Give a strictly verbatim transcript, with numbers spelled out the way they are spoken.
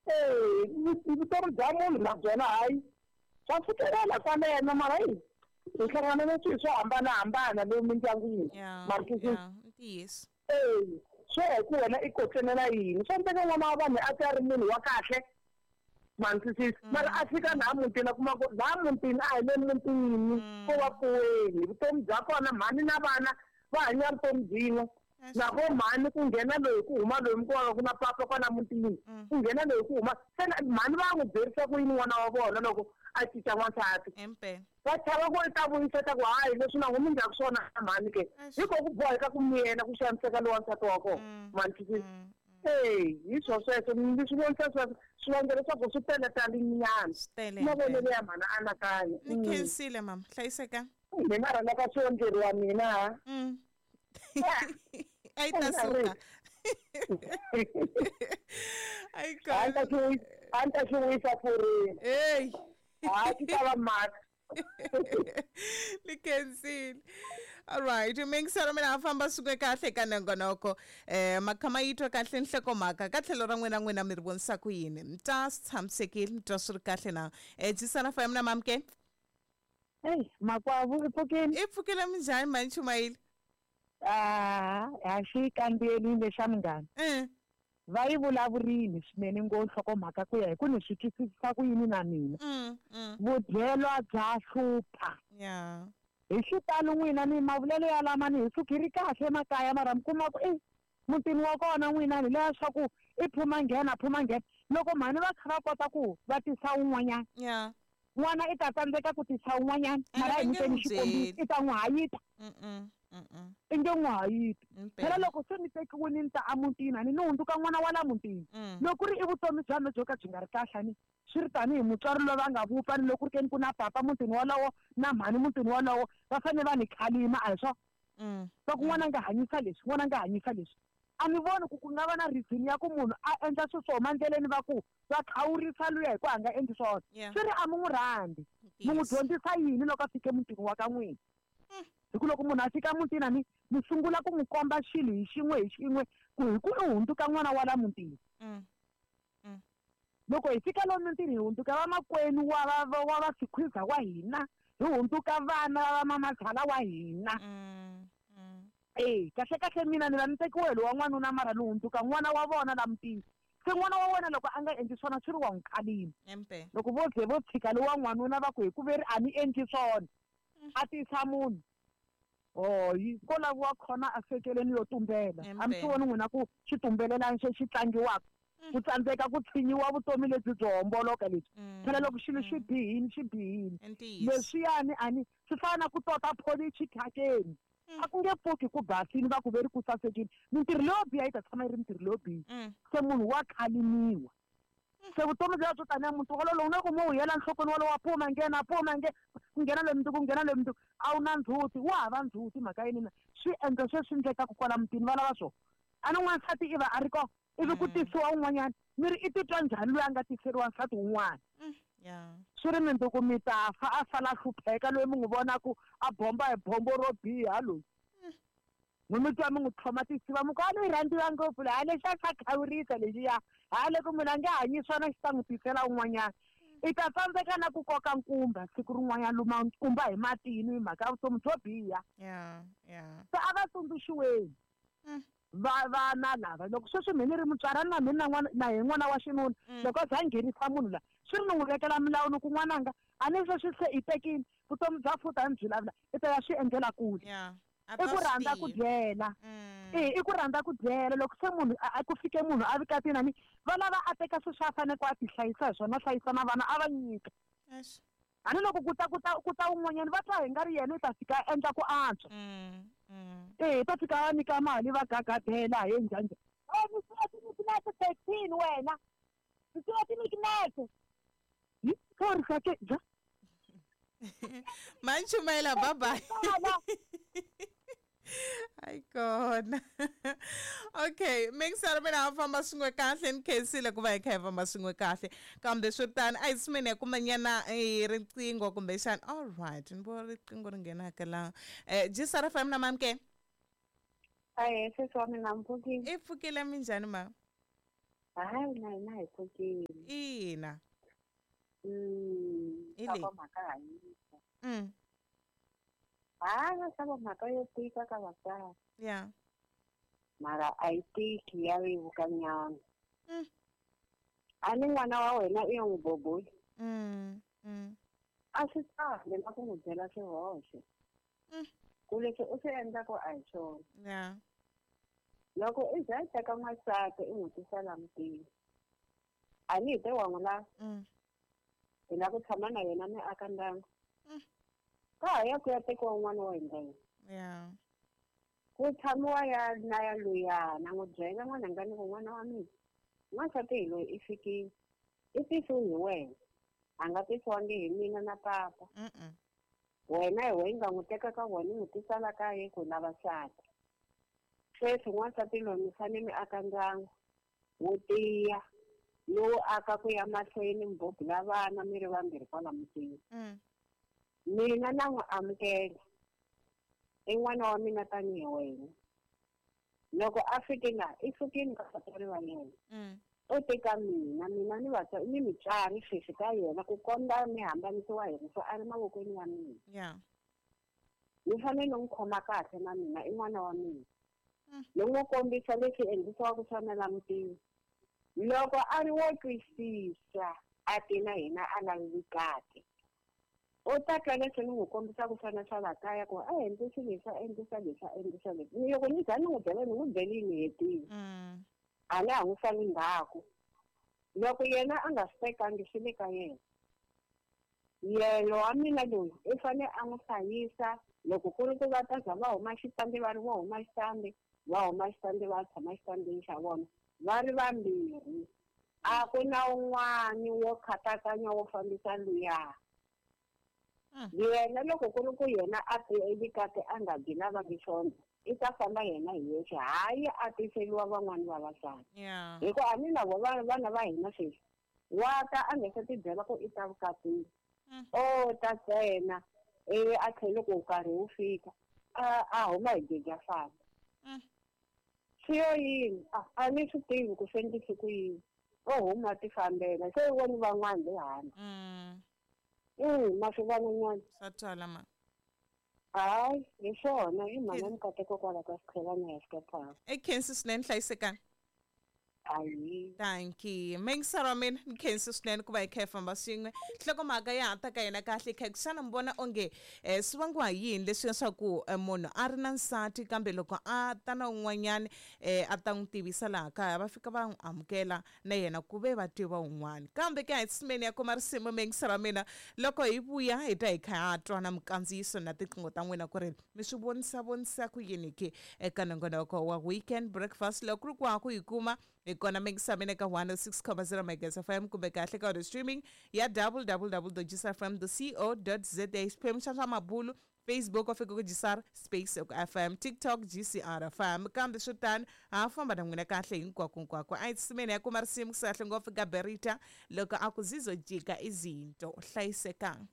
Eh, vutomi bya munhu na byona hayi swa fikelela kwaleno mara yi hi hlangana na swilo swo hambanahambana lomu mindyangwini. Yeah, ntiyiso. Eh, swo ya hi ku wena i kotlenela yini. Swa endleka n'wana wa vanhu a ti a ri munhu wa kahle mantwisisi mara a fika laha mutini a kuma ku laha mutini a hi le mutini ko va pfuweni vutomi bya kona mhani na vana va hanya vutomi byin'we na vo mhani ku nghena loyi ku huma loyi mi kuma ku na papa kwala mutini ku nghena loyi ku huma se mhani va n'wi byerisa ku yini n'wana wa vona loko a cinca n'wansati va chava ku i ta vuyisa ta ku hayi leswi na n'wi mi ndlaku swona mhani ke hi ko ku boheka ku miyela ku xaniseka lowa nsati wa kona mantwisisi. Eh, hi swo sweswo ni swi vonisa sweswo swivangelo swa ku swi tele talinyana mavonelo ya mhana anakanya. Ni khensile mama, hlayiseka. Mina rhandza ka swi endleriwa mina. A yi ta suka. Ayi kona. A ni ta xi wisa furini. Ey. A xi ta va mhaka. Ni khensile. All right, mingiselo mina a famba suke kahle ka nongonoko. Eh makhama yi twa kahle nhlokomhaka ka tlhelo ra n'wina n'wina mi ri vonisa ku yini. Mi twa swi tshamisekile, mi twa swi ri kahle na. Eh Jisana F M na mamke. Hey, makwavu i pfukile. I pfukile minjhani mhani Chumayile? Ah, a xi kambelile xa munghana. Eh. Va yi vulavurile swinene ngo nhlokomhaka ku ya hi ku ni swi twisisa ku yini na mina. Vudyelwa bya hlupha. Yeah. Hi xitalo n'wina ni mavulelo ya lama ni hi suki ri kahle emakaya mara mi kuma ku e mutini wa kona n'wina ni leya swa ku i phuma nghena phuma nghena loko mhani va kha va kota ku va tisa un'wanyana. Yeah. N'wana i ta tsandzeka ku tisa un'wanyana mara hi nyikeni xikombiso i ta n'wi hayita. Mm. Mm. I nge n'wi hayiti. Phela loko se ni tekiwile ni ta emutini a ni ni hundzuka n'wana wa la mutini. Loko ku ri i vutomi bya mina byo ka byi nga ri kahle ni swi ri tanihi mutswari loyi va nga vupfa ni loko ku ri ke ni ku na papa mutini wolowo na mhani mutini wolowo va fanele va ni khalima a hi swona. Va ku n'wana nga hanyisa leswi n'wana nga hanyisa leswi. A ni voni ku ku nga va na reason ya ku munhu a endla swilo swo huma endleleni va ku va khawurisa luya hi ku a nga endli swona. Swi ri a mi n'wi rhandzi. Mi n'wi dyondzisa yini loko a fike mutini wa ka n'wina? Hi ku loko munhu a fika mutini a ni mi sungula ku n'wi komba xilo hi xin'we hi xin'we ku hi ku i hundzuka n'wana wa la mutini. Loko hi fika lomu mutini hi hundzuka vamakwenu wa va wa va sikhwiza wa hina hi hundzuka vana va mamazala wa hina. Eh, kahle kahle mina ni va ni tekiwe lowa n'wanuna mara ni hundzuka n'wana wa vona la mutini. Se n'wana wa wena loko a nga endli swona swi ri wa n'wi khalima. Loko vo ze vo tshika lowa n'wanuna va ku hi ku veri a ni endli swona a tisa munhu. Oh, yi ko laviwa khona a sekeleni yo tumbela. A mi swi voni n'wina ku xi tumbelelani xi xi tlangiwaka. Ku tsandzeka ku tshinyiwa vutomi lebyi byo homboloka lebyi. Phela loko xilo xi bihile xi bihile. Leswiyani a ni swi fana na ku tota pholichi thyakeni. A ku nge pfuki ku basile va ku veri ku sasekile. Mintirho leyo biha yi ta tshama yi ri mintirho leyo biha. Se munhu wa khalimiwa. Se vutomi bya byo tanihi muti wolowo na ku mo yela nhlokweni wolowo wa phuma nghena phuma nge ku nghena loyi mundzuku ku nghena loyi mundzuku a wu na ndzhuti wa hava ndzhuti mhaka yini na swi endla sweswi endlekaka kwala mutini va lava swona. A ni n'wansati i va a ri kona ivi ku tisiwa un'wanyana mi ri i titwa njhani loyi a nga tiseriwa nsati wun'wana. Swi ri mindzuku mi ta fa a sala hlupheka loyi mi n'wi vonaku a bomba hi bombo ro biha loyi. Mi mi twa mi n'wi tlhoma tisiva mi ku a ni rhandziwa ngopfu laha lexi a xa khawurisa lexiya ha loko munhu a nge hanyi swona xi ta n'wi tisela un'wanyana. I ta tsandzeka na ku koka nkumba siku rin'wanyana luma nkumba hi matini hi mhaka ya vutomi byo biha. Se a va tsundzuxiweni va vana lava loko sweswi mina ni ri mutswari a ni na mina na n'wana na hi n'wana wa xinuna loko a za a nghenisa munhu la swi ri ni n'wi vekela milawu ni ku n'wananga a ni sweswi se i tekile vutomi bya futa a ni byi lavula i ta ya swi endlela kule. I ku rhandza ku dyela. Eh, i ku rhandza ku dyela loko se munhu a ku fike munhu a vikatini ni va lava a teka swilo swa a fanele ku a ti hlayisa hi swona hlayisa na vana a va nyika. A ni loko ku ta ku ta ku ta un'wanyana va twa hi nga ri yena i ta fika a endla ku antswa. Eh, ta fika a nyika mali va gagadela hi njhani. Eh, mi siya ti thirteen wena. Mi siya ti nikinete. Yi sorry ka ke ja. Manchumayela bye bye. Hayi kona. Okay, mingiselo mina a famba swin'we kahle ni khensile ku va hi kha hi famba swin'we kahle kambe swi tani a hi tshimeni ya kumanyana riqingho kumbexana. All right, ni vona riqingho ri nghenaka laha. Eh Jisara F M na mamke. Ahee, sesi wa mina mi pfukile. I pfukile minjhani ma? Hayi na hina hi pfukile. Ina. Mm, Hi leyi. mhaka hanyisa. Mm. Hayi swa mhaka yo tika ka vatswari. Yeah. Mara a yi tiki ya vevuka nyana. Mm. A ni n'wana wa wena i yo n'wi boboli. Mm. Mm. A swi kahle na ku n'wi byela swihoxo. Mm. Ku leswi u swi endlaku a hi swona. Yeah. Loko i za i teka n'wansati i n'wi tisa la mutini. A ni hi te wa n'wi lava. Mm. Hi lava ku tshama na yena mi aka ndyangu. Mm. Ka ha ya ku ya tekiwa un'wana wo hundza yena. Yeah. Ku tshamiwa ya na ya luya na n'wi byela n'wananga ni ku n'wana wa mina. N'wansati hi loyi i fikile. I tisiwe hi wena. A nga tisiwangi hi mina na papa. Mm-mm. Wena hi wena nga n'wi teka ka vona i n'wi tisa la kaya ku lava nsati. Sweswi n'wansati loyi mi fanele mi aka ndyangu wo tiya lowu aka ku ya mahlweni mi bobula vana mi ri vambirhi kwala mutini. Mm. Mina na n'wi amukela. I n'wana wa mina tanihi wena. Loko a fike la i fikile ka vatswari va yena. Mm. U teka mina mina ni vatswari ni mutswari sweswi ka yena ku komba mi hambanisiwa hi rifu a ri mavokweni ya mina. Yeah. Ni fanele ni n'wi khoma kahle na mina i n'wana wa mina. Mm. Ni n'wi kombisa leswi endlisiwaka swona la mutini. Loko a ri wo twisisa a ti na hina a lavi vukati. U ta twa leswi ni n'wi kombisaka swona swa la kaya ku a endlisi leswi a endlisa leswi a endlisa leswi. Ni loko ni za ni n'wi byela ni n'wi byelini hetile. Mm. A na ha n'wi sali ndzhaku. Loko yena a nga swi tekangi swi le ka yena. Yena wa mina loyi i fanele a n'wi hlayisa loko ku ri ku va ta za va huma xitandi va ri vo huma xitandi va huma xitandi va tshama xitandini xa vona va ri vambirhi. A ku na un'wani wo khatakanya wo fambisa luya. Mm. Yena loko ku ri ku yena a vukati a nga byi lavangi swona i ta famba yena hi yexe hayi a tiseliwa van'wani vavasati. Yeah. Hi ku a ni na vo vana va hina sweswi wa ta a nga se ti byela ku i ta vukatini. Mm. O ta ntsena ivi a tlhela loko nkarhi wu fika a a huma hi geja famba. Mm. Swi yo yini a a ni swi tivi ku swi endlise ku yini o huma ti fambela se i voni van'wana le handle. Mm. Mm, ma swi vona nyana. Swa twala ma. Hayi hi swona i mhana Mikateko kwala ka Sichelana ya Skephana. I khensi swinene hlayisekani. Ayi. Dankie. Mingisara mina ni khensi swinene ku va hi kha hi famba swin'we. Nhlokomhaka ya ha ta ka yena kahle kha xana mi vona onge eh, swi vangiwa hi yini leswi leswaku eh, munhu a ri na nsati kambe loko a ta na un'wanyani eh, a ta n'wi tivisa laha kaya va fika va n'wi amukela na yena ku ve va tiva un'wana. Kambe ke a hi tshimeni ya kuma risimu mingisara mina loko hi vuya hi ta hi kha ha twa na minkandziyiso na tiqingho ta n'wina ku ri mi swi vonisa vonisa ku yini ke eka nongonoko wa weekend breakfast loko ku ri ku ha ku yi kuma hi kona mingisa mina ka one oh six point zero Megahertz F M kumbe kahle ka audio streaming ya w w w dot g s r f m dot co dot z a xiphemu xa swa mabulu Facebook wa fika ku G S R space F M TikTok G C R F M kambe swo tano ha famba na n'wina kahle hinkwako hinkwako a hi tsimeni ya kuma risimu kusahle ngopfu ka Berita loko a ku zizojika izinto hlayisekang.